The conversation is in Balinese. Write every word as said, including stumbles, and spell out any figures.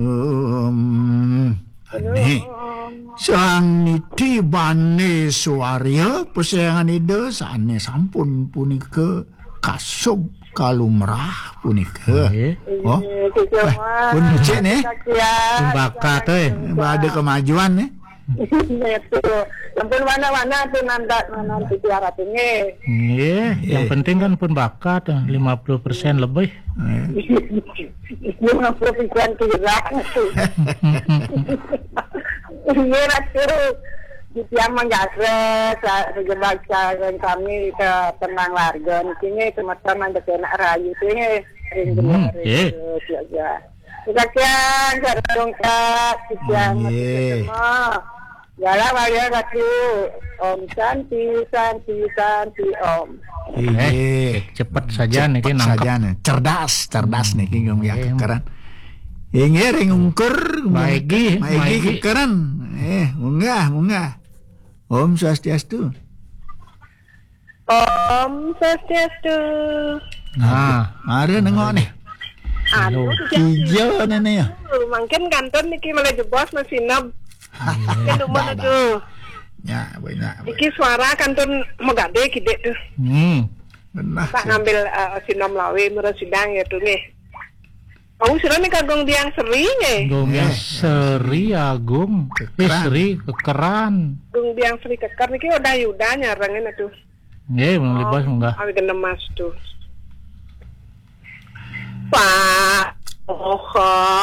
Em, ane. Sang niti bane suarya pasayangan Ida sane sampun punika kasub kalumrah punika. Nggih. Oh. Nggih, Kiki Wah, Wah. Pun becik nih. Kasihan. Pun bakat, eh. Ada kemajuan nih. Itu. Ampun mana-mana tuh nandak nanti tiara tuh nggih. Nggih, yang Nggih. penting kan pun bakat, eh, lima puluh persen lebih. Eh. Lima puluh persen kurang. Iya, Ratu. Di tiang manggagra, sa-, segebak sa-, kami ke tenang warga. Di sini semua mandek enak rayu sini. Ring Hmm, bener, eh. Ring jaga. Kasihan, sareng dongkak, kasihan, Nggih. Mati ketemu. Galah wayah Ratu. Om Santi, Santi, Santi, Om. Inggih. Eh, cepet saja Cepet niki nangkep. saja nih. Cerdas, cerdas Hmm. niki, Gung, ya, Nggih. kekeran. Inggih, ring ungkur, Maigi, maigi Maigi. kekeran. Eh, munggah, munggah. Om Swastiastu. Om Swastiastu. Nah, ada nengok nih. Anu, Halo. Ijo nene ya. Mungkin kantun niki malah jebos masih neb. Nggih. Kan dumun Dah, dah. aduh. Ya, banyak. Iki suara kantun mau gade kidik tuh. Hmm. Benar. Tak sih. ngambil eh, sinom lawe murah sidang ya tuh nih. Mau sira nih kagung biang seri nih. Gung Biang Eh, Seri Agung. Eh, Kekeran. Seri Kekeran. Gung biang seri keker niki udah yuda nyarengin aduh. Nggih, Bang Libas munggah. Awi kena mas tuh. Pak, oh,